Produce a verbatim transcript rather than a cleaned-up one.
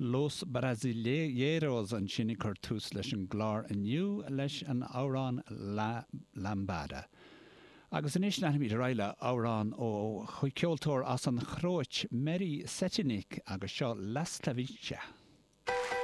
Los Brasileiros ansin ag cur tús leis an gclár inniu leis an amhrán La Lambada. Agus anois leanfaimid ar aghaidh le amhrán ó cheoltóir as an Chróit Meri Cetinić agus seo Lastavica.